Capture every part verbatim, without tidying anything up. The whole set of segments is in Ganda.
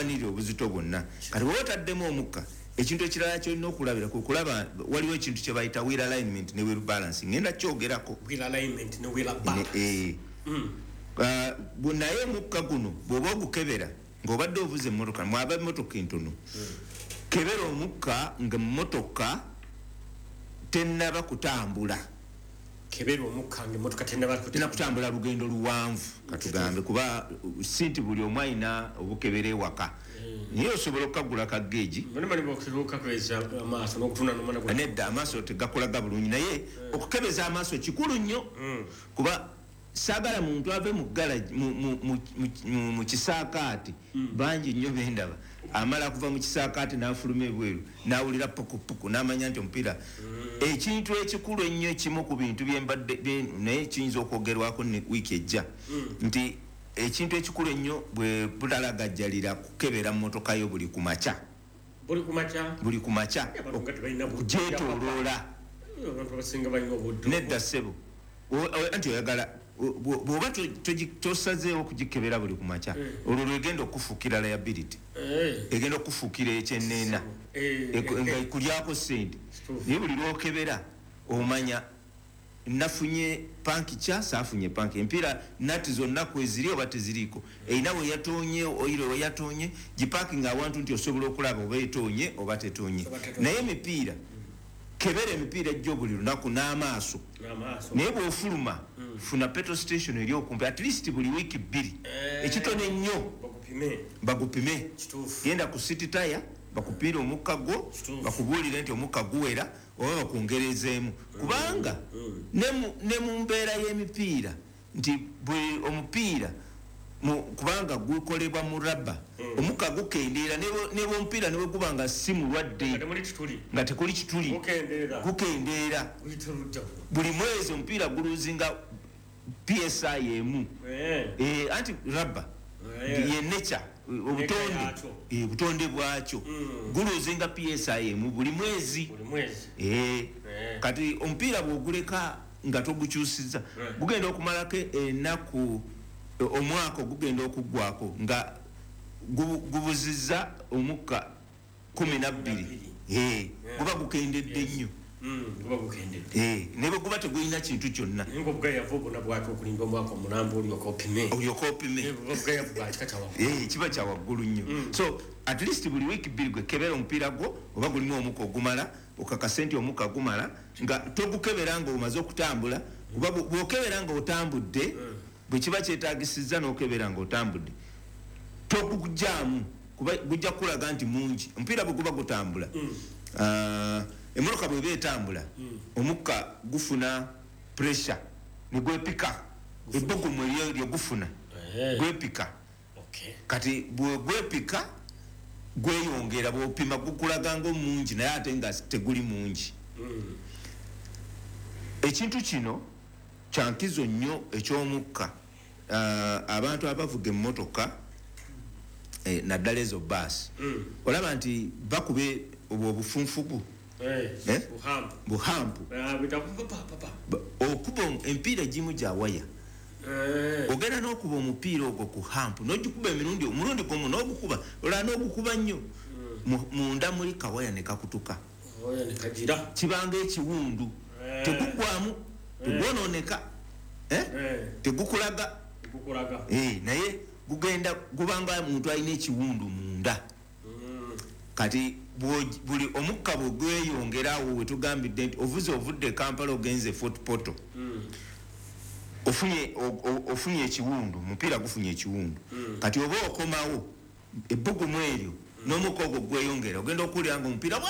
Newanirira obuzito bwonna. Kati bw'oba otaddemu omukka, ekintu ekirala kyolina okulabira kwe kulaba waliwo ekintu kye bayita wheel alignment ne wheel balancing, ngenda kyogerako. Wheel alignment ne wheel balance. Eh. Ah, bu- naye omukka guno bw'oba ogukebera ng'obadde ovuza emmotoka, mwaba emmotoka entono, kebera omukka nga emmotoka tennaba kutambula. Kebera omukka nga emmotoka tennaba tena kutambula lugendo luwanvu, katugambe, kuba uh, si nti buli omu alina obukebera ewaka, naye osobola okukagula ka gauge. Bali amaaso n'okutuna nomana. Nedda, amaaso tegakolaga bulungi, naye okukebeza amaaso kikulu nnyo, kuba saagala muntu ave mu garage mu- mu- mu- mu- mu kisaakaati. Bangi nnyo bendaba amala kuva mu kisaakaati n'afuluma ebweru n'awulira pukupuku n'amanya nti omupiira. Ekintu ekikulu ennyo, ekimu ku bintu byembadde bye- naye kiyinza okwogerwako ne wiiki ejja, nti ekintu ekikulu ennyo bwe butalagajjalira kukebera mmotoka yo buli ku makya. Buli kumakya? Buli ku makya. Abantu nga tebalina budde. Gyetooloola. Abantu abasinga balina obudde. Nedda ssebo. O- o- anti oyagala o- bw'oba to- togi- tosazeewo kugikebera buli ku makya, olwo lwegenda okufuukira liability. Eh, Egenda okufuukira ekyenneena. Eh, Eku- nga ekulyako sente. Kituufu. Naye buli lwokebera omanya nafunye puncture, saafunye puncture, empiira nati zonna kweziri oba teziriiko, erina we yatonye, oil we yatonye, giparkinga awantu nti osobola okulaba oba etonye oba tetonye. Oba tetonye. Naye emipiira, kebera emipiira ejjo buli lunaku n'amaaso. N'amaaso. Naye bw'ofuluma, funa petrol station eri okumpi, at least buli wiiki bbiri. Eh. Ekitono ennyo. Bagupime. Bagupime. Kituufu. Genda ku City Tyre bakupiire omukka gwo. Kituufu. Bakubuulire nti omukka guwera oba bakwongerezeemu, kubanga ne mu- ne mu mbeera y'emipiira nti buli omupiira mu- kubanga gukolebwa mu rubber, omukka gukendeera ne bwe- ne bwomupiira ne bwe guba nga si mulwadde, nga temuli kituli, nga tekuli kituli, gukendeera. Gukendeera. Guyita ludda. Buli mwezi omupiira guluzinga P S I emu. Eh, Eh, anti rubber Eh. ye nature, obutonde. Yakyo. Eh, obutonde bwakyo guluzinga P S I emu buli mwezi. Buli mwezi. Eh, Eh. kati omupiira bwoguleka nga togukyusiza, Eh. gugenda okumalako ennaku, omwaka ogugenda okuggwako nga gubu- gubuzizza omukka kumi nabbiri. Eh, guba gukendedde nnyo. Mm, guba gukendedde. Eh, ne bwe guba tegulina kintu kyonna. Naye nga obugayavu obwo bwaki okulinda omwaka omulamba olyoka opime? Olyoka opime. Eh, buba bugayavu bwa kika kyawaggulu. Eh, kiba kya waggulu nnyo. So at least buli wiiki bbiri gwe kebera omupiira gwo oba gulimu omukka ogumala, okakase nti omukka gumala, nga togukebera nga omaze okutambula, kuba bw- bw'okebera nga otambudde, bwe kiba kyetagisizza n'okebera nga otambudde, togugjamu kuba gujja kukulaga nti mungi. Omupiira bwe guba gutambula, ah, emmotoka bweba etambula, omukka gufuna pressure ne gwepika, ebbugumu eryo lyegufuna Eh, gwepika. Okay. Kati bwe gwepika gweyongera, bwopima gukulaga nga omungi, naye ate nga teguli mungi. Ekintu kino kyankizo nnyo ekyomukka. Ah, abantu abavuga emmotoka, eh, naddala ezo baasi, olaba nti bakube obwo obufunfugu. Eh, Eh? Buhampu. Buhampu. Ah, bita pa, pa, pa, pa. Ba- okuba omu- emipiira egimu gya waya. Eh, Ogenda n'okuba omupiira ogwo ku hump, n'ogikuba emirundi, omulundi gumu n'ogukuba, olala n'ogukuba nnyo. Mu- munda muli kawaya ne kakutuka. Oya ne kagira. Kibanga ekiwundu. Eh. Tegugwamu, tegwonooneka. Eh? Eh, Tegukulaga. Gukulaga. Eh, naye gugenda gubanga muntu alina ekiwundu munda. Kati bw'ogi- buli omukka bwe gweyongera, awo wetugambidde nti ovuze, ovudde e Kampala ogenze Fort Portal, ofunye o- o- ofunye ekiwundu, omupiira gufunye ekiwundu. Kati oba okomawo, ebbugumu eryo n'omukka ogwo gweyongera, ogenda okuwulira nga omupiira wa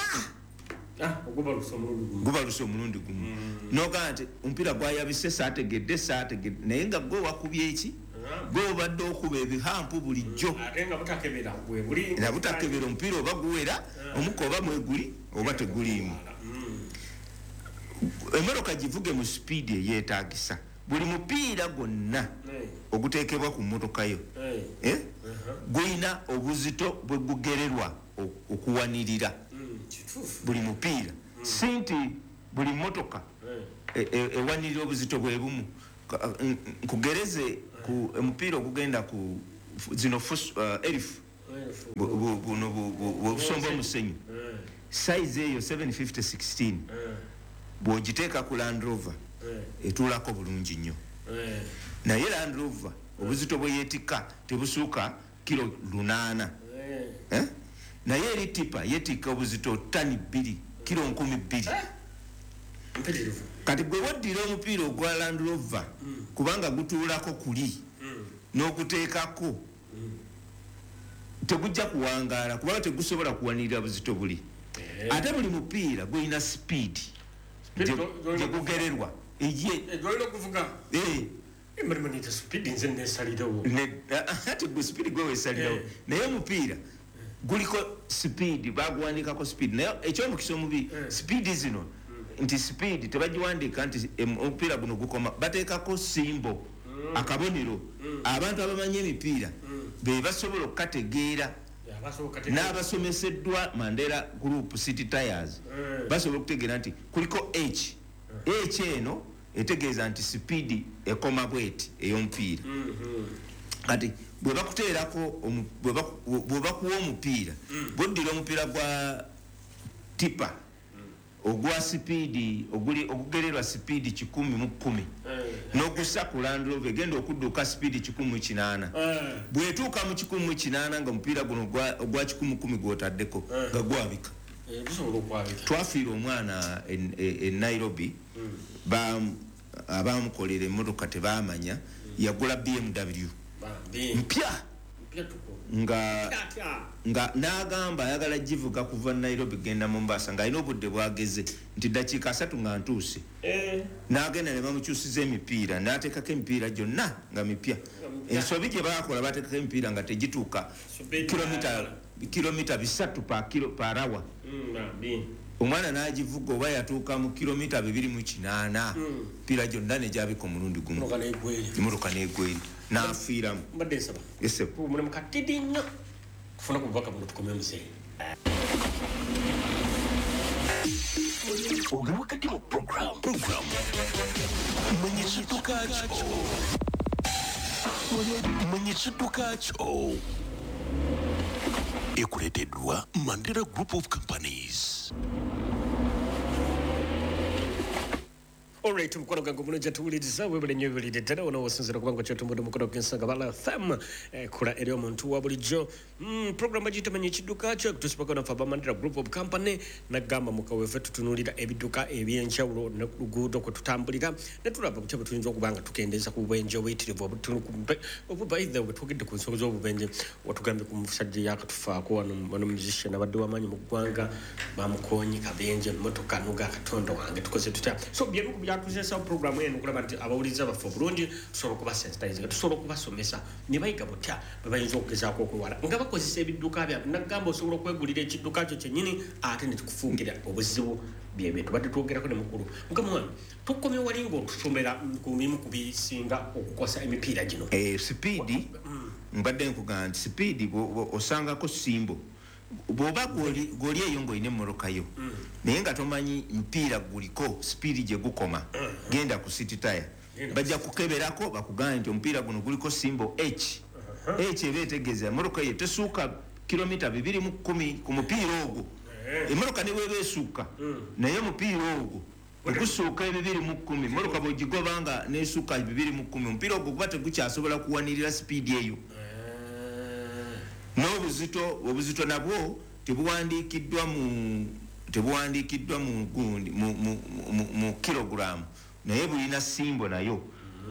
Ah, ogubalusa omulundi gumu. Gubaluse omulundi gumu, nogaa nti omupiira gwayabise, saategedde saategedde, naye nga gwe wakubye eki? Gwe obadde okuba ebihump bulijjo. Ate nga butakebera bwe buli. Era butakebera omupiira oba guwera omukka, oba mweguli oba teguliimu. Emmotoka givuge mu sipiidi eyeetagisa. Buli mupiira gwonna Eh, oguteekebwa ku mmotoka yo, eh, eh, gulina obuzito bwe gugererwa o- okuwanirira. mm, kituufu. Buli mupiira, si nti buli mmotoka Eh, e- e- ewanirira obuzito bwe bumu. Ka- n- nkugereze ku omupiira ogugenda ku zino fuso, uh, Elf. Buno busomba omusenyu. Size eyo seven fifty sixteen bw'ogiteeka ku Land Rover etuulako bulungi nnyo. Naye Land Rover obuzito bwe yeetikka tebusuuka kilo lunaana. Naye eri tipa yeetikka obuzito ttani bbiri, kilo nkumi bbiri. Kati gwe woddira omupiira ogwa Land Rover kubanga gutuulako kuli n'oguteekako tegujja kuwangaala kubanga tegusobola kuwanirira buzito buli. Ate buli mupiira gulina speed gye gugererwa. Ate gwe speed gwe weesalirawo. Naye omupiira guliko speed, baguwandikako speed. Naye ekyomukisa omubi speed zino nti speed tebagiwandiika nti omupiira guno gukoma, bateekako simbo akabonero. Abantu abamanyi emipiira be basobola okukategeera n'abasomeseddwa Mandela Group City Tires basobola okutegeera nti kuliko H. H eno etegeeza nti speed ekoma bweti ey'omupiira. Kati bwe bakuteerako bwe bakuwa omupiira, bw'oddira omupiira gwa tipa ogwa sipiidi ogugererwa sipiidi kikumi mu kkumi n'ogussa ku Land Rover egenda okudduka sipiidi kikumi mu kinaana. Bw'etuuka mu kikumi mu kinaana nga omupiira guno ogwa kikumi mu kkumi gw'otaddeko nga gwabika. Twafiira omwana e Nairobi, abamukolera emmotoka tebaamanya, yagula B M W mpya nga nga n'agamba ayagala givuga kuva Nairobi genda Mombasa ng'alina obudde bwageze nti ddakiika asatu nga ntuuse. N'agenda ne bamukyusiza emipiira n'ateekako emipiira gyonna nga mipya. Ensobi gye baakola baateekako emipiira nga tegituuka kilomita bisatu per hour. Omwana n'agivuga oba yatuuka mu kilomita bibiri mu kinaana, emipiira gyonna ne gyabika omulundi gumu. Emmotoka n'egweri n'afiiramu. Mbadde nsaba mulimu katidi nnyo tufuna ku bubaka buno tukomye muzeeyi. Oli wakati mu program program manya ekidduka kyo, manya ekidduka kyo ekuleeteddwa Mandela Group of Companies. Alright, mukono gangu mulungi atuwuliriza webale nnyo webalire ddala wano wosinziira kubanga kyotumbudde omukono gw'ensonga bala F M ekola eri omuntu wa bulijjo. Program bagiyita manya ekidduka kyo ekutuusibwako naffe aba Mandela Group of Company. Nagamba mukaweefe tutunuulira ebidduka eby'enjawulo ne ku luguudo kwe tutambulira ne tulaba butya bwe tuyinza okuba nga tukendeeza ku bubenje obuyitirivu obubaithe bwe twogedde ku nsonga z'obubenje. Watugambye ku musajja yakatufaako wano wano musician abadde w'amaanyi mu ggwanga bamukoonye kabenje emmotoka nuga Katonda wange tukoze tutya. So byemu ku byatuzesa programu eno okulaba nti abawuliriza baffe obulungi tusobola okubasensitizinga, tusobola okubasomesa ne bayiga butya bwe bayinza okugezaako okwewala nga bakozesa ebidduka byabwe. Nagamba osobola okwegulira ekidduka kyo kyennyini ate ne kikufuukira obuzibu. Byebyo tubadde twogerako ne mukulu. Mukama wange tukomye wali ng'otusomera ku bimu ku bisinga okukosa emipiira gino. Sipiidi mbadde nkugamba nti sipiidi osangako simbo bw'oba gw'oli eyo ng'olina emmotoka yo naye nga tomanyi mupiira guliko sipiidi gye gukoma, genda ku City Tire bajja kukeberako bakugambe nti omupiira guno guliko simbo H. H eba etegeeza emmotoka yo tesuuka kilomita bibiri mu kkumi ku mupiira ogwo. Emmotoka ne bw'eba esuuka naye omupiira ogwo ogusuuka ebibiri mu kkumi, emmotoka bw'ogigoba nga n'esuuka bibiri mu kkumi, omupiira ogwo guba tegukyasobola kuwanirira sipiidi eyo. N'obuzito obuzito nabwo tebuwandiikiddwa mu tebuwandiikiddwa mu gundi mu mu kilogrammu naye bulina simbo nayo.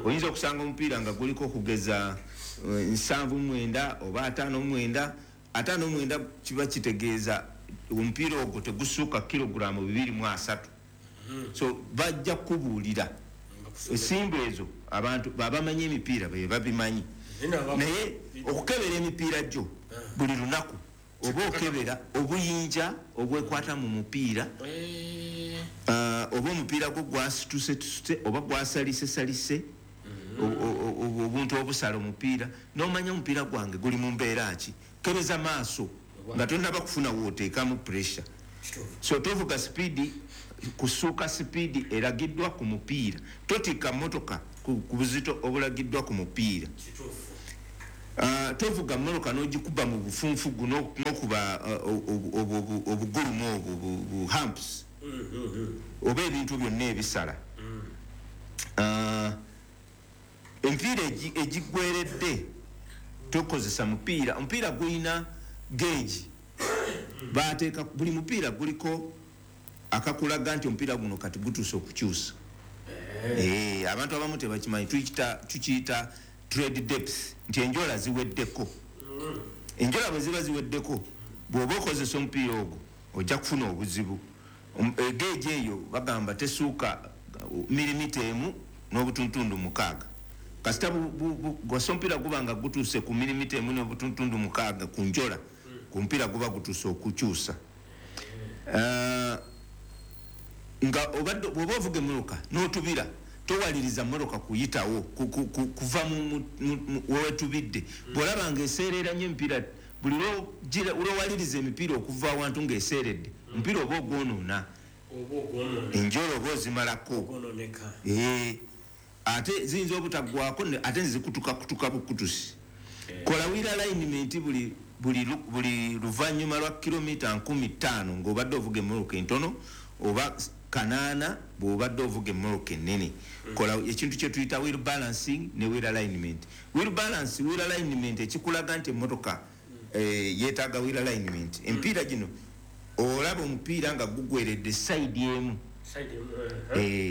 Oyinza okusanga omupiira nga guliko okugeza nsanvu mu mwenda oba ataano mu mwenda. Ataano mu mwenda kiba kitegeeza omupiira ogwo tegusuuka kilogrammu bibiri mu asatu. So bajja kubuulira ensimbo ezo abantu babamanyi emipiira be babimanyi. Naye okukebera emipiira gyo buli lunaku oba okebera obuyinja obwekwata mu mupiira, oba omupiira gwo gwasitusetuse oba gwasalisesalise obuntu obusala omupiira n'omanya omupiira gwange guli mu mbeera ki. Kebeza maaso nga tonnaba kufuna w'oteekamu pressure. So tovuga sipiidi kusuuka sipiidi eragiddwa ku mupiira, totikka mmotoka ku buzito obulagiddwa ku mupiira. Uh, tovuga mmotoka n'ogikuba mu bufunfugu n'okuba uh, obugulumu obwo bu humps oba ebintu byonna ebisala. Uh, emipiira egiggweredde tokozesa mupiira. Omupiira gulina gauge, bateeka buli mupiira guliko akakulaga nti omupiira guno kati gutuuse okukyusa. Eh, abantu abamu tebakimanyi, tukiyita trade depth, nti enjola ziweddeko. Enjola bwe ziba ziweddeko, bw'oba okozesa omupiira ogwo ojja kufuna obuzibu. Gauge eyo bagamba tesuuka milimita emu n'obutuntundu mukaaga. Kasita gwasa omupiira guba nga gutuuse ku milimita emu n'obutuntundu mukaaga ku njola, ku mupiira guba gutuuse okukyusa. Nga bw'oba ovuga emmotoka n'otubira, towaliriza mmotoka kuyitawo kuva wewetubidde. Bw'olaba ng'eseerera nnyo emipiira, buli lwowaliriza emipiira okuva awantu ng'eseeredde, omupiira oba ogwonoona, enjola oba ozimalako. Ate ziyinza obutaggwako, ate nzikutukakutuka bukutusi. Kola wheel alignment buli buli luvannyuma lwa kilomita nkumi ttaano ng'obadde ovuga emmotoka entono oba kanaana bw'obadde ovuga emmotoka ennene. Kola ekintu kye tuyita wheel balancing ne wheel alignment. Wheel balance, wheel alignment ekikulaga nti emmotoka yeetaaga wheel alignment. Emipiira gino olaba omupiira nga gugweredde sayidi emu,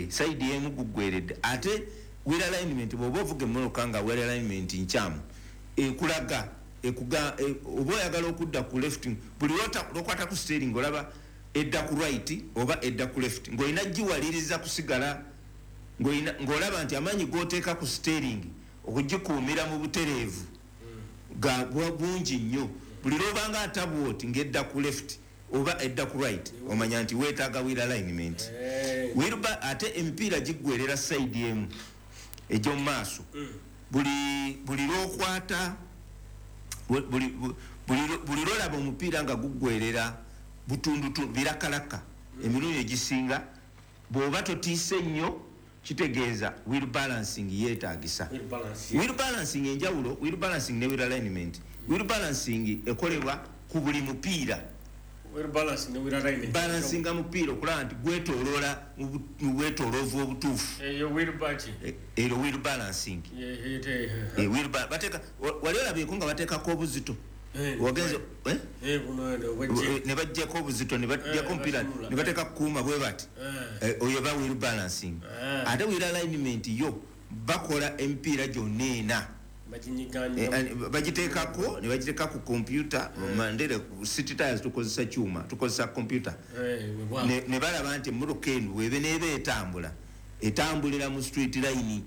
sayidi emu gugweredde. Ate wheel alignment bw'oba ovuga emmotoka nga wheel alignment nkyamu, ekulaga oba oyagala okudda ku left, buli lwokwata ku steering olaba edda ku right oba edda ku left, ng'olina giwaliriza kusigala ng'olaba nti amaanyi g'oteeka ku steering okugikuumira mu butereevu ga bungi nnyo. Buli lw'obanga atabwoti ng'edda ku left oba edda ku right, omanya nti weetaaga wheel alignment. Ate emipiira giggwerera sayidi emu egy'omu maaso. Buli lw'okwata, buli lw'olaba omupiira nga guggwerera butundutundu birakalaka emirundi egisinga, bw'oba totiise nnyo kitegeeza wheel balancing yeetaagisa. Wheel balancing enjawulo, wheel balancing ne wheel alignment. Wheel balancing ekolebwa ku buli mupiira. Balancinga mupiira okulaba nti gwetooloola mu bwetooloovu obutuufu. Eyo wheel balancing. Wali olabyeko nga bateekako obuzito, wagenze ne baggyako obuzito ne baggyako omupiira ne bateeka kukuuma bwe bati, oyo ba wheel balancing. Ate wheel alignment yo bakola emipiira gyonna ena bagiteekako ne bagiteeka ku kompyuta. Mandere city tires tukozesa kyuma, tukozesa kompyuta, ne balaba nti emmotoka eno bw'ebe n'eba etambula, etambulira mu street line.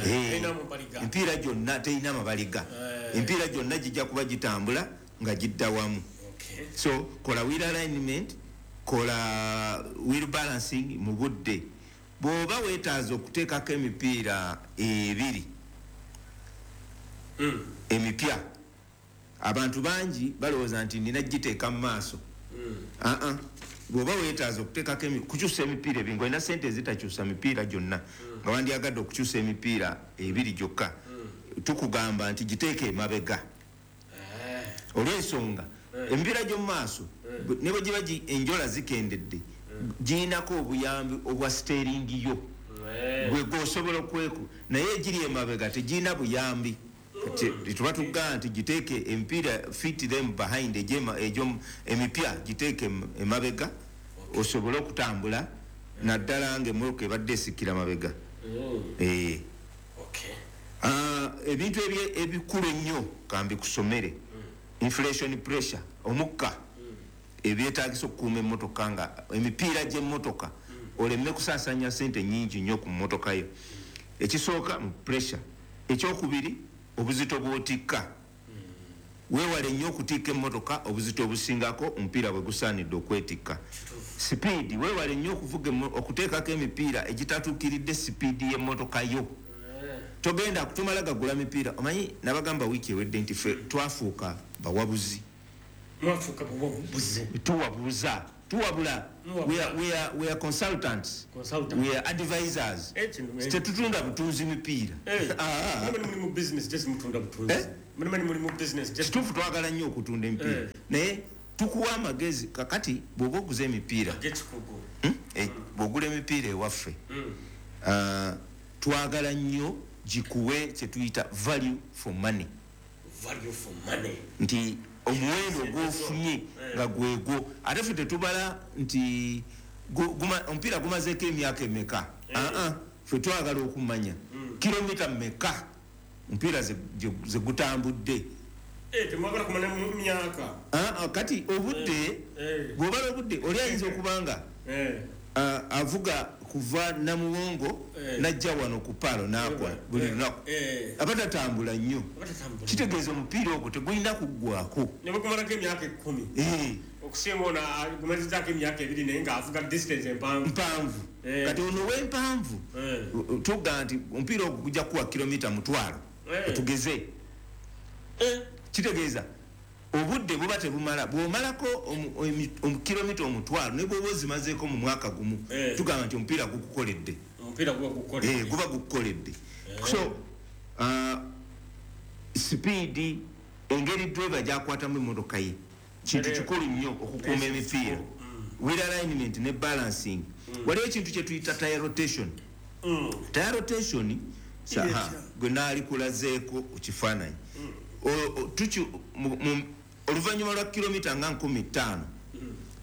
Emipiira gyonna terina mabaliga, emipiira gyonna gijja kuba gitambula nga gidda wamu. So kola wheel alignment, kola wheel balancing mu budde. Bw'oba weetaaza okuteekako emipiira ebiri emipya, abantu bangi balowooza nti nina giteeka mu maaso. Aa, bw'oba weetaaza okuteekako kukyusa emipiira ebiri, ng'olina ssente ezitakyusa mipiira gyonna, nga wandyagadde okukyusa emipiira ebiri gyokka, tukugamba nti giteeke emabega. Olw'ensonga emipiira gy'omu maaso ne bwe giba enjola zikendedde, girinako obuyambi obwa steering yo gwe gw'osobola okweku, naye egiri emabega tegirina buyambi. Tuba tugamba nti giteeke emipiira, fit them behind, emipya giteeke emabega osobole okutambula, naddala ng'emmotoka ebadde esikira mabega. Ebintu ebikulu ennyo kambikusomere: inflation pressure, omukka, ebyetaagisa okukuuma emmotoka nga emipiira gy'emmotoka oleme kusaasaanya ssente nnyingi nnyo ku mmotoka yo. Ekisooka mu pressure. Ekyokubiri, obuzito bw'otikka. Weewale nnyo okutikka emmotoka obuzito obusingako omupiira bwe gusaanidde okwetikka. Sipiidi, weewale nnyo okuvuga okuteekako emipiira egitatuukiridde sipiidi y'emmotoka yo. Togenda kutumala gagula mipiira. Omanyi nabagamba wiiki ewedde nti ffe twafuuka bawabuzi. Mwafuuka bawabuzi. Tuwabuza. Tuwabula. We are, we are, we are consultants. Consultants. We are advisors. Eh, kino, eh. Tetutunda butunzi mipiira. Eh, Ah, ah. mulimu muli mu business just mutunda butunzi. Eh? Mulimu muli mu business just Kituufu, twagala nnyo okutunda emipiira, Eh. naye tukuwa amagezi. Kakati bw'oba oguza emipiira, g'ekikugu. hmm? Eh, bw'ogula emipiira ewaffe, Mm. ah, twagala nnyo gikuwe kyetuyita value for money. Value for money. Nti omuwendo gwofunye nga gwegwo, ate ffe tetubala nti gu- guma- omupiira gumazeeko emyaka emeka. Aa, ffe twagala okumanya kilomita meka omupiira ze- gye- ze gutambudde. Eh, temwagala kumanya mu myaka. Aa, kati obudde, Eh. bw'obala obudde, oli ayinza okuba nga Eh. ah, avuga kuva Namuwongo Eh. najja wano ku Paalo n'akola buli Eh. lunaku, Eh. aba tatambula nnyo. Abatatambula. Kitegeeza omupiira ogwo tegulina kuggwako. Ne bagumalako emyaka ekkumi. Eh. Okusinga ono agumazizaako emyaka ebiri naye ng'avuga distance empanvu. Mpanvu. Eh. Kati ono wempanvu, Eh. tugaa nti omupiira ogwo gujja kuwa kilomita mutwalo, Eh. tugeze. Eh. Kitegeeza obudde buba tebumala. Bw'omalako omu- emi- omu- kilomita omutwalo, ne bwoba ozimazeeko mu mwaka gumu, Eh. tugamba nti omupiira gukukoledde. Omupiira guba gukola. Eh, guba gukukoledde. So uh, sipiidi, engeri driver gyakwatamu emotoka ye kintu Eh. kikulu nnyo okukuuma Eh, emipiira. Wheel alignment ne balancing. Waliwo ekintu kyetuyita tire rotation. Mm. Tire rotation saha gwe naali kulazeeko ku kifaananyi. O- o- tuki- mu- mu- oluvannyuma lwa kilomita nga nkumi ttaano,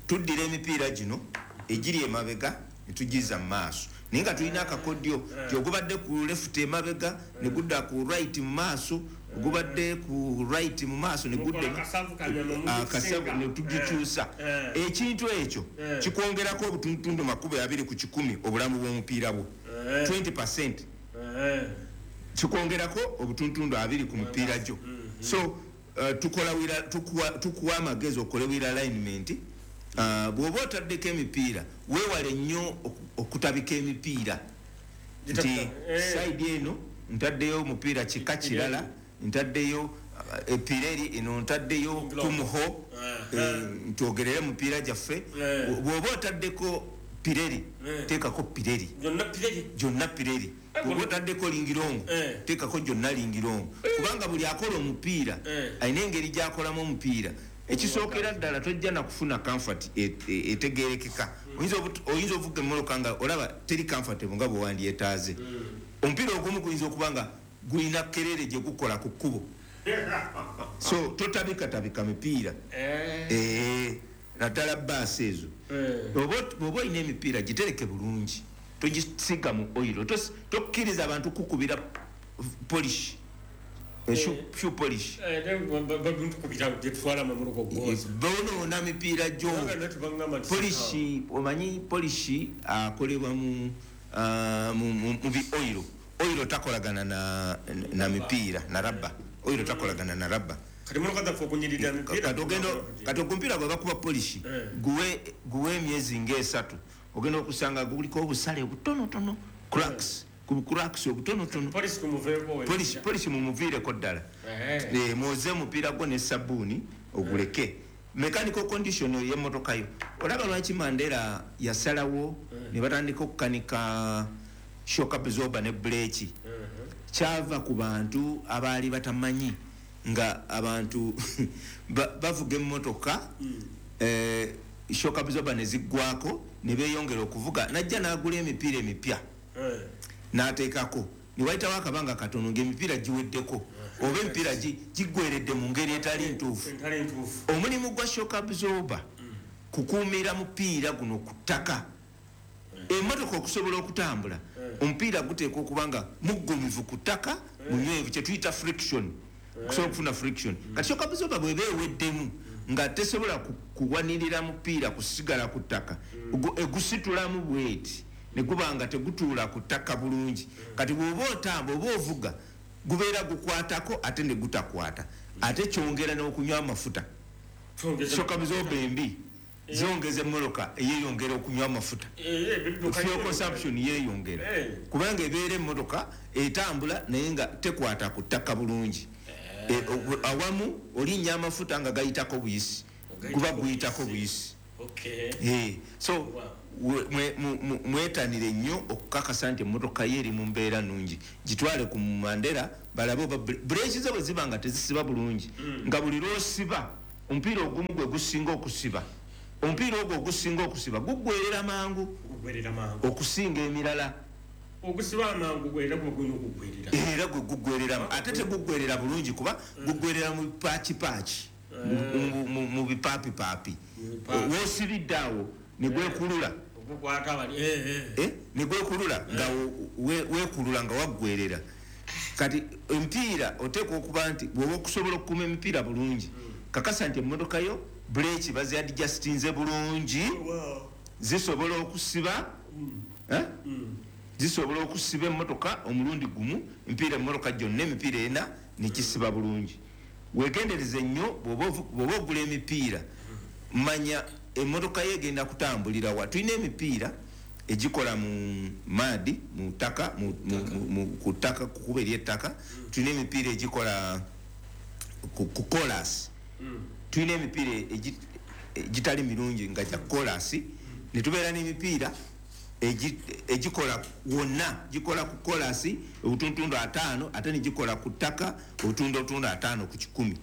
tuddira emipiira gino egiri emabega netugiza mu maaso, naye nga tulina akakodyo ti ogubadde ku left emabega ne gudda ku right mu maaso, ogubadde ku right mu maaso ne gudda Mukola akasavu kanyama mu akasavu kisinga. ne tugikyusa. Eh. Ekintu ekyo Eh. kikwongerako obutundutundu makumi abiri ku kikumi obulamu bw'omupiira bwo, Eh. twenty percent. Eh. Kikwongerako obutundutundu abiri ku mupiira gyo. So uh, tukola wheel- tukuwa- tukuwa amagezi okole wheel alignment. Uh, bw'oba otaddeko emipiira, weewale nnyo oku- okutabika emipiira nti Eh. side eno ntaddeyo omupiira kika kirala, ntaddeyo uh, e Pirelli, eno ntaddeyo Kumho. Eh. eh, ntwogerere mupiira gyaffe. Eh. Bw'oba otaddeko Pirelli, Eh. teekako Pirelli. Byonna Pirelli. Gyonna Pirelli. Bw'oba otaddeko Linglong, Eh. teekako gyonna Linglong, kubanga buli akola omupiira Eh. alina engeri gyakolamu omupiira. Ekisookera ddala, tojja nakufuna comfort e- e- etegerekeka. Oyinza obut- oyinza ovuga emmotoka nga olaba teri comfortable nga bwewandyetaaze. Omupiira ogumu guyinza okuba nga gulina kerere gye gukola ku kkubo, so totabikatabika mipiira. Eh. Eh, naddala baasi ezo. Eh. Bw'oba bw'oba olina emipiira, gitereke bulungi, togisiga mu oil. Tos- tokkiriza abantu kukubira polish, eh, shoe- shoe polish. Eh, batukubira gyetutwala mu muluko gwoza. Bonoona mipiira gyo. Polish, omanyi polish akolebwa mu ah, mu- mu mu bi oil. Oil takolagana na, na mipiira, na rubber. Oil takolagana na rubber. Kati motoka zaffe okunyirira emipiira. Kati ogenda, kati ogumpira gwe bakuba polish, Eh. guwe guwe emyezi ngaesatu, ogenda okusanga guliko obusale obutonotono, cracks, ku cracks obutonotono. Polish tumuveeko. Polish, polish mumuviireko ddala. Eh. Eh, mwoze omupiira gwo ne sabbuuni oguleke. Mechanical condition y'emmotoka yo, olaba lwaki Mandela yasalawo ne batandika okukanika shock absorber ne breki? Kyava ku bantu abaali batamanyi nga abantu ba- bavuga emmotoka, eh, shock absorber ne ziggwako ne beeyongera okuvuga. Najja n'agula emipiira emipya Eh. n'ateekako, ne wayitawo akabanga katono ng'emipiira giweddeko oba emipiira gi- giggweredde mu ngeri etali ntuufu. Entali ntuufu. Omulimu gwa shock absorber kukuumira mupiira guno ku ttaka. Emmotoka okusobola okutambula, omupiira guteekwa okuba nga muggumivu ku ttaka, munywevu, kyetuyita friction, okusobola okufuna friction. Kati shock absorber bweba eweddemu nga tesobola ku- kuwanirira mupiira kusigala ku ttaka, Ogu- egusitulamu bweti ne guba nga tegutuula ku ttaka bulungi. Kati bw'oba otamba oba ovuga, gubeera gukwatako ate ne gutakwata, ate kyongera n'okunywa amafuta. Twongeza- Shock absorber embi zongeza emmotoka eyeyongera okunywa amafuta. Eh, eh, bidduka Fuel nnyo. consumption yeyongera, Eh. kubanga ebeera emmotoka etambula naye nga tekwata ku ttaka bulungi. Eh, ogu- awamu olinnya amafuta nga gayitako buyisi, guba guyitako buyisi. Okay. Eh, so mwetanire nnyo okukakasa nti emmotoka ye eri mu mbeera nnungi, gitwale ku Mandera balabe oba bureeki ze bwe ziba nga tezisiba bulungi, nga buli lw'osiba omupiira ogumu gwe gusinga okusiba, omupiira ogwo ogusinga okusiba guggwerera mangu okusinga emirala. Ogusiba amangu gwera gwe era gwe guggwerera, ate teguggwerera bulungi kuba guggwerera mu paakipaaki, mu bipaapipapi. W'osibidde awo ne gwekulula, ne gwekulula nga weekulula nga waggwerera. Kati emipiira oteekwa okuba nti bw'oba okusobola okukuuma emipiira bulungi, kakasa nti emmotoka yo buleeki baziadjustinze bulungi, zisobola okusiba, zisobola okusiba emmotoka omulundi gumu, emipiira emmotoka gyonna emipiira ena nekisiba bulungi. Weegendereze nnyo bw'oba ogula emipiira, manya emmotoka yo egenda kutambulira wa. Tulina emipiira egikola mu maadi, mu ttaka, ku ttaka, ku kkubo ery'ettaka. Tulina emipiira egikola ku koolaasi. Tulina emipiira egitali mirungi nga gya koolaasi, ne tubeera n'emipiira egikola wonna, gikola ku koolaasi obutundutundu ataano, ate ne gikola ku ttaka obutundutundu ataano ku kikumi.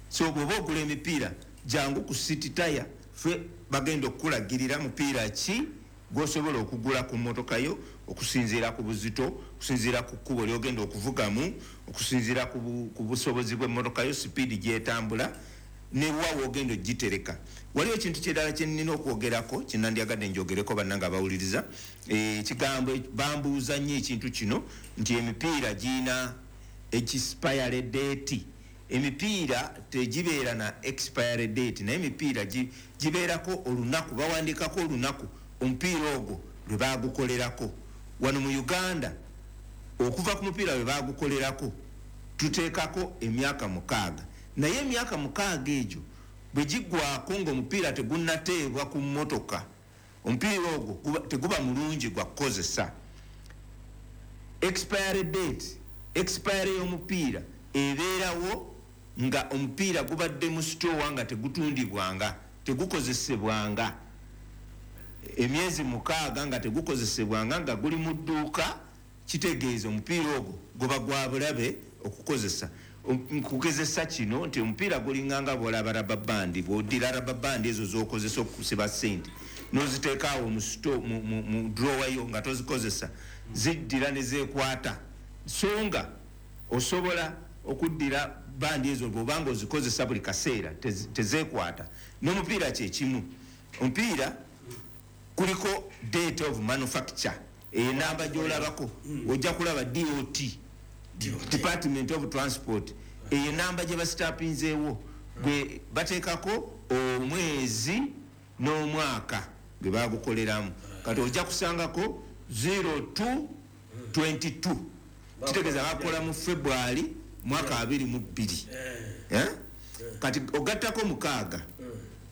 So bw'oba ogula emipiira, jangu ku City Tyre, ffe bagenda okukulagirira mupiira ki gw'osobola okugula ku mmotoka yo okusinziira ku buzito, okusinziira ku kkubo ly'ogenda okuvugamu, okusinziira ku busobozi bw'emmotoka yo, sipiidi gy'etambula, ne wa w'ogenda ogitereka. Waliwo ekintu kirala kye nnina okwogerako kye nandyagadde njogereko bannange abawuliriza. Ekigambo bambuuza nnyo ekintu kino nti emipiira girina expiry date. Emipiira tegibeera na expiry date, naye emipiira gibeerako olunaku, bawandiikako olunaku omupiira ogwo lwe baagukolerako. Wano mu Uganda okuva ku mupiira lwe baagukolerako tuteekako emyaka mukaaga, naye emyaka mukaaga egyo bwe giggwako ng'omupiira tegunnateebwa ku mmotoka, omupiira ogwo teguba mulungi gwa kukozesa. Expiry date, expiry y'omupiira ebeerawo nga omupiira gubadde mu sitoowa nga tegutundibwanga, tegukozesebwanga emyezi mukaaga nga tegukozesebwanga, nga guli mu dduuka, kitegeeza omupiira ogwo guba gwa bulabe okukozesa. Nkugezesa kino nti omupiira gulinganga bw'olaba rubber band, bw'oddira rubber band ezo z'okozesa okusiba ssente n'oziteeka awo mu sito, mu drawer yo nga tozikozesa, ziddira ne zeekwata. So nga osobola okuddira bandi ezo bw'obanga ozikozesa buli kaseera tezeekwata. N'omupiira kye kimu, omupiira kuliko date of manufacture, enamba gy'olabako ojja kulaba D O T, Department of Transport, eyo enamba gye basitapinzeewo gwe bateekako omwezi n'omwaka gwe bagukoleramu. Kati ojja kusangako zero two twenty two, kitegeeza bakola mu February mwaka abiri mu bbiri. Kati ogattako mukaaga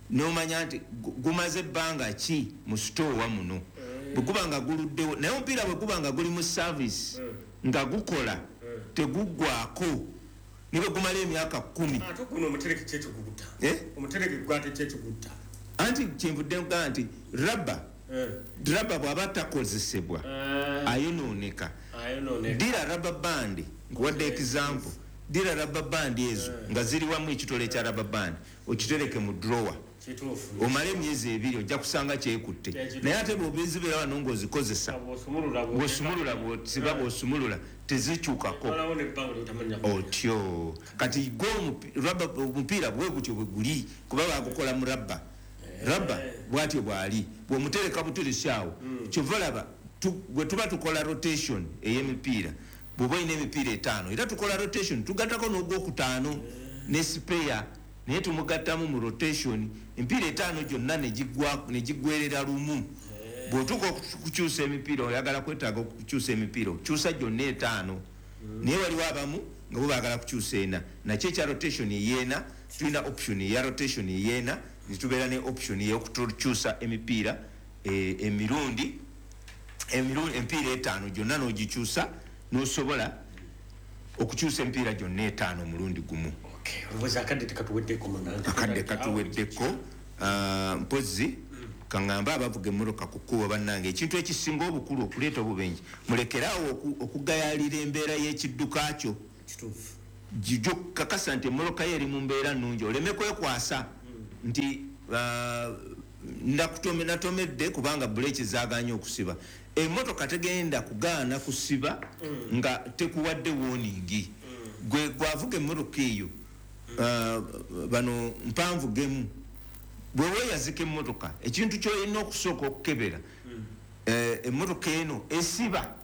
n'omanya nti gumaze ebbanga ki mu sitoowa muno, bwe guba nga guluddewo. Naye omupiira bwe guba nga guli mu service nga gukola teguggwako ne bwe gumala emyaka kkumi. Ate guno omutereke ki ekigutta? Omutereke gwate ki ekigutta? Anti kyenvudde nkugamba nti rubber, rubber bw'aba takozesebwa ayonooneka. Dira rubber band, nkuwadde example, dira rubber band ezo nga ziri wamu ekitole ekya rubber band okitereke mu drawer omale emyezi ebiri ojja kusanga kyekutte. Naye ate bw'obezibeera wano ng'ozikozesa, bw'osumulula, bw'osiba, bw'osumulula tezikyukako otyo. Kati gwo omupiira bwe gutyo bwe guli, kuba bagukola mu rubber. Rubber bw'atyo bw'ali, bw'omutereka buteresi awo, kyova olaba bwe tuba tukola rotation ey'emipiira, bw'oba olina emipiira etaano era tukola rotation, tugattako n'ogwokutaano ne spare, naye tumugattamu mu rotation emipiira etaano gyonna ne giggwerera lumu. Bw'otuuka okukyusa emipiira, oyagala kwetaaga okukyusa emipiira, okyusa gyonna etaano, naye waliwo abamu nga bo baagala kukyusa ena. Nakyo ekya rotation ey'ena, tulina option eya rotation ey'ena, ne tubeera ne option ey'okukyusa emipiira emirundi emipiira etaano gyonna n'ogikyusa, n'osobola okukyusa emipiira gyonna etaano omulundi gumu. Olowooza akadde tekatuweddeko munange? Akadde katuweddeko. Ah, mpozi kaŋŋambe abavuga emmotoka ku kkubo, bannange, ekintu ekisinga obukulu okuleeta obubenje, mulekeraawo oku- okugayaalira embeera y'ekidduka kyo. Kituufu. Jijo kakasa nti emmotoka yo eri mu mbeera nnungi, oleme kwekwasa nti ah, ndakutome- natomedde kubanga buleeki zaaganye okusiba. Emmotoka tegenda kugaana kusiba nga tekuwadde warning. Gwe gwavuga emmotoka eyo, ah, bano mpanvu gemu, bwe weeyazika emmotoka, ekintu kyolina okusooka okukebera, eh, emmotoka eno esiba,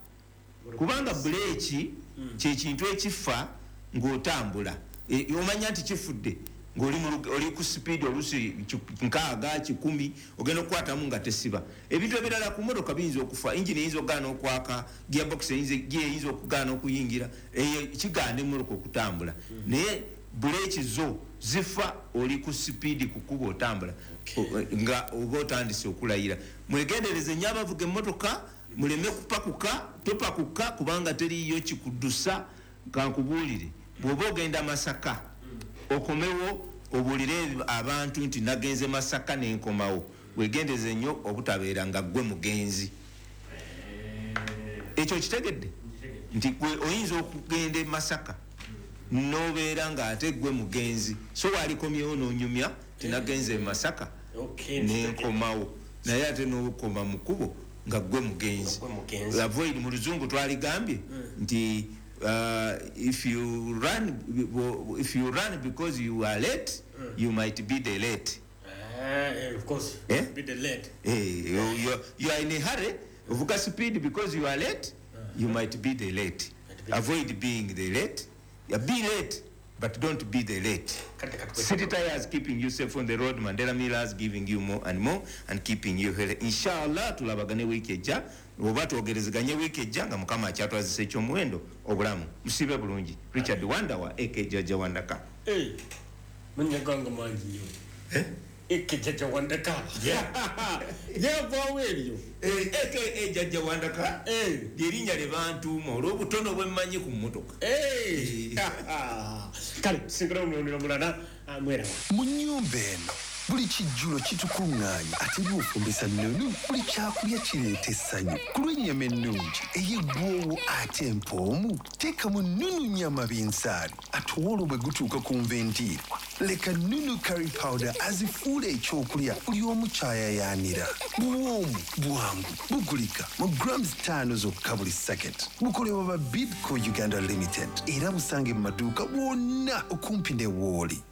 kubanga buleeki kyekintu ekifa ng'otambula. E, omanya nti kifudde ng'oli mu lug- oli ku sipiidi oluusi ki- nkaaga, kikumi, ogenda okukwatamu nga tesiba. Ebintu ebirala ku motoka biyinza okufa: engine eyinza okugaana okwaka, gearbox eyinza, gear eyinza okugaana okuyingira, eyo kigaana emmotoka okutambula. Naye buleeki zo zifa oli ku sipiidi ku kkubo otambula, O- nga oba otandise okulayira. Mwegendereze nnyo abavuga emmotoka, muleme kupakuka. Topakuka kubanga teriyo kikuddusa. Kankubuulire, bw'oba ogenda Masaka, okomewo obuulire abantu nti nagenze Masaka nenkomawo, wegendereze nnyo obutabeera nga ggwe mugenzi. Ekyo kitegedde nti gwe oyinza okugenda e Masaka nobeera ng'ate gwe mugenzi, so walikomyewo n'onyumya tinagenze e Masaka Okay, nenkomawo, naye ate n'okoma mu kkubo nga gwe mugenzi. Gwe mugenzi. Avoid, mu luzungu twaligambye nti uh, if you run if you run because you are late, you might be the late. Eh, of course. Eh? Be the late. Eh, you, you, you are in a hurry, ovuga speed because you are late, you might be the late. Might be. Avoid being the late. Yeah, be late, but don't be the late. Kati kati. City Tires, keeping you safe on the road. Mandela Millers, giving you more and more and keeping you healthy. Inshallah tulabagane wiiki ejja oba twogerezeganye wiiki ejja nga Mukama akyatwazisa ekyomuwendo obulamu. Musibe bulungi. Richard Wandawa aka Jajja Wandaka. Eh, mannya gange mangi nnyo. Eh? Eke Jajja Wandaka yavaawo eryo. Eh, aka Jajja Wandaka. Eh. Lyerinnya lye bantuuma olw'obutono bwe mmanyi ku mmotoka. Eh. Kale tusinkana omulundi omulala, ah, mweraba. Mu nnyumba eno buli kijjulo kitukuŋŋaanya, ate bw'ofumbisa nnunu buli kyakulya kireeta essanyu. Ku lw'ennyama ennungi ey'eggwowo ate empoomu, teekamu Nunu nyama binsaali. Ate olwo bwe gutuuka ku nva endiirwa, leka Nunu curry powder azifuula ekyokulya buli omu kyayayaanira. Buwoomu, bwangu, bugulika mu grams ttaano zokka buli sacket. Bukolebwa ba Bidco Uganda Limited era busange mu maduuka wonna okumpi ne wooli.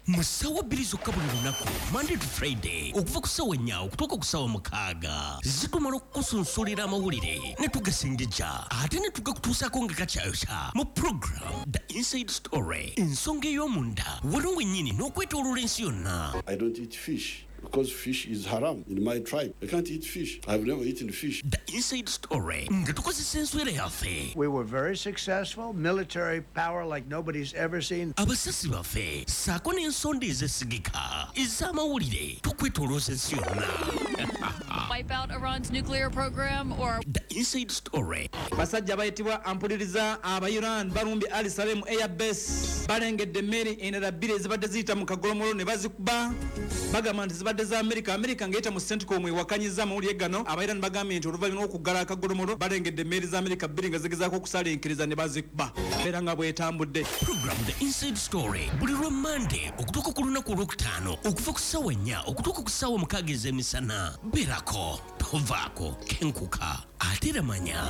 Mu ssaawa bbiri zokka buli lunaku, Monday to Friday, okuva ku ssaawa nnya okutuuka ku ssaawa mukaaga, zitumala okukusunsulira amawulire ne tugasengejja ate ne tugakutuusaako nga kakyayokya mu program The Inside Story, ensonga ey'omunda wano wennyini n'okwetooloola ensi yonna. I don't eat fish because fish is haram in my tribe. I can't eat fish. I've never eaten fish. The Inside Story nga tukozesa enswera yaffe. We were very successful, military power like nobody's ever seen. Abasasi baffe ssaako n'ensonda ezesigika ez'amawulire tukwetoolooza ensi yonna. Wipe out Iran's nuclear program or The Inside Story. Basajja bayitibwa ampuliriza, aba Iran balumbye Ali Salem Airbase, balengedde emmeri endala bbiri ezibadde ziyita mu kagolomolo ne bazikuba. Bagamba nti zibadde za Amerika. Amerika ng'eyita mu CENTCOM ewakanyiza amawulire gano. Aba Iran bagambye nti oluvannyuma lw'okuggala akagolomolo, balengedde emmeri za Amerika bbiri nga zigezaako okusalinkiriza ne bazikuba. Era nga bwetambudde. Program The Inside Story buli lwa Mande okutuuka ku lunaku olwokutaano, okuva ku ssaawa nnya okutuuka ku ssaawa mukaaga ez'emisana. Beerako, tovaako, kenkuka ate era manya.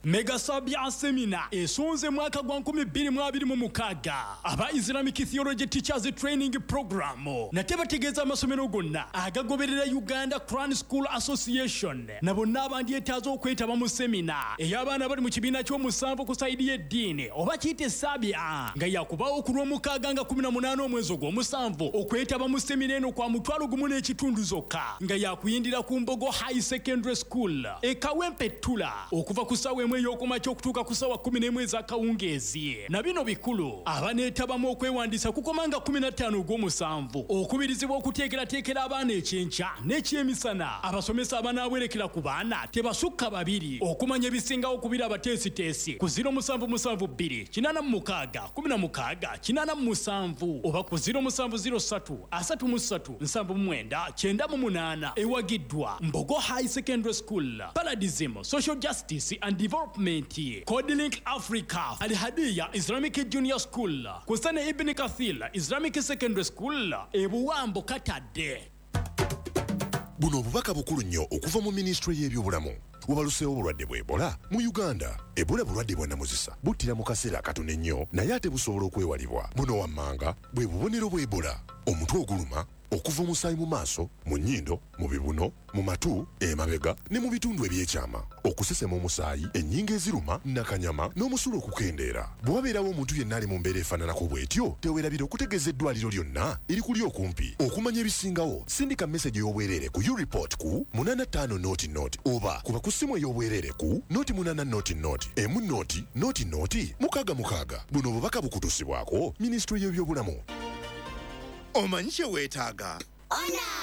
Mega Sabia Seminar esonze mwaka gwa nkumi bbiri mu abiri mu mukaaga aba Islamic Theology Teachers Training Program. Nate bategeeza amasomero gonna agagoberera Uganda Quran School Association na bonna abandyetaaza okwetaba mu semina ey'abaana bali mu kibiina ky'omusanvu ku side y'eddiini oba kiyite Sabia, nga yakubaawo ku lw'omukaaga nga kumi na munaana omwezi ogw'omusanvu. Okwetaba mu semina eno kwa mutwalo gumu n'ekitundu zokka, nga yakuyindira ku Mbogo High Secondary School e Kawempe Ttula okuva ku ssaawa emu. n'emu ey'okumakya okutuuka ku ssaawa kkumi n'emu ez'akawungeezi. Na bino bikulu, abaneetabamu okwewandiisa kukoma nga kkumi na ttaano ogw'omusanvu, okubirizibwa okuteekerateekera abaana ekyenkya n'ekyemisana. Abasomesa abanaawerekera ku baana tebasukka babiri. Okumanya ebisingawo kubira abateesiteesi ku ziro musanvu musanvu bbiri kinaana mu mukaaga kkumi na mukaaga kinaana mu musanvu oba ku ziro musanvu ziro ssatu asatu mu ssatu nsanvu mu mwenda kyenda mu munaana. Ewagiddwa Mbogo High Secondary School, Paradism Social Justice and Development, Codelink Africa, Al-Hadiya Islamic Junior School, Kusane Ibn Kathir Islamic Secondary School, Ebuwambo Katadde. Buno obubaka bukulu nnyo okuva mu minisitule y'ebyobulamu. Wabaluseewo obulwadde bwa Ebola mu Uganda. Ebola bulwadde bwa nnamuzisa, buttira mu kaseera akatono ennyo, naye ate busobola okwewalibwa. Buno wammanga bwe bubonero bwa Ebola: omutwe oguluma, okuva omusaayi mu maaso, mu nnyindo, mu bibuno, mu matu, emabega ne mu bitundu ebyekyama, okusesema omusaayi, ennyingo eziruma, nakanyama n'omusulo okukendeera. Bwe wabeerawo omuntu yenna ali mu mbeera efaananako bw'etyo, teweerabira okutegeeza eddwaliro lyonna erikuli okumpi. Okumanya ebisingawo, sindika meseji ey'obwereere ku ureport ku munaana ttaano noti noti oba kuba ku ssimu ey'obwereere ku noti munaana noti noti emu noti noti noti mukaaga mukaaga. Buno obubaka bukutuusibwako minisitule y'ebyobulamu. Omanyi kye weetaaga? Ona!